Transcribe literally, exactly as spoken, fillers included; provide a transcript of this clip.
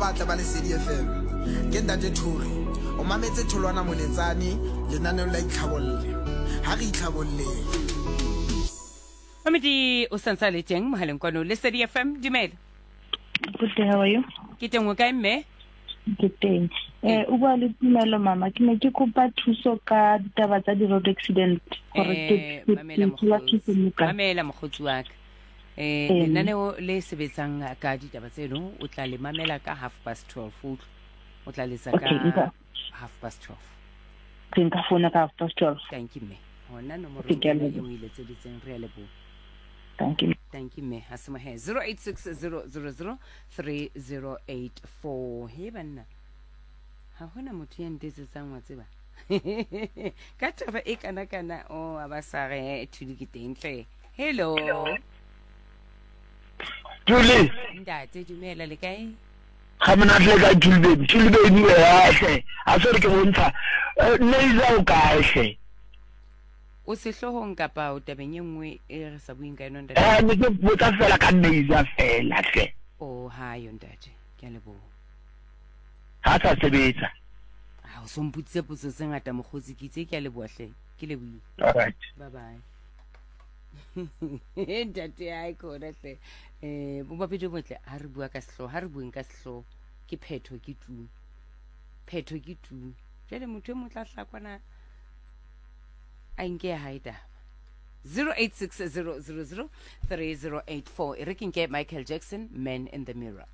Batle ba Lesedi F M, ke Ntate Thori. O mametse Tholwana Moletsane lenaneong la Itlhabolle. Ha re itlhabolleng. Mamedi o santse a le teng mohaleng kwano Lesedi F M, dumela. Good day, how are you? Ke teng, o kae, mme? Ke teng. Eh, o bua le Tumelo, mama. Ke ne ke kopa thuso ka ditaba tsa di-road accident gore ke Eh, ke mamela ke thola mokgotsi. thuso mo kae. Mamela, mokgotsi wa ka, eh Ee. Lenaneo le sebetsang ka ditaba tseno o tla le mamela ka half past twelve, utlwa, o tla letsa Okay, ka nka half past twelve. Ke nka founa ka half past twelve. Thank you, mme. Hona nomoro Okay, ke a ena leboha. e o e letseditseng, re a leboha. Thank you. Thank you, mme. Ha se mohe zero eight six zero zero zero three zero eight four. He banna, ha hona motho ya ntetsetsang, wa tseba, ka taba e kana kana o a ba sa re Thuli ke teng tle. Hello. Tuli. Ntate, dumela, le kae? Ga monate, le kae, Tuli baby? Tuli baby hle, a se re ke bontsha. Eh, Neiza o kae hle? O sehloohong kapa o tabeng e nngwe e re sa bueng ka yona, ntate? Eh, ne ke botsa fela ka Neiza fela hle. O ha yo, ntate, ke a leboha. Ha sa sebetsa. Ha o so mpotsitse potso tse ngata, mokgotsi, ke itse ke a leboha hle, ke lebohile. All right. Bye bye, ntate. Ai kona hle, um bomapedi botle, ha re bua ka sehlooho, ha re bueng ka sehlooho, ke phetho, ke tu, phetho ke tu. Jwale motho e mong tla hlakwana a nke ya hae taba. zero eight six zero zero zero three zero eight four. E re ke nke Michael Jackson, Man in the Mirror.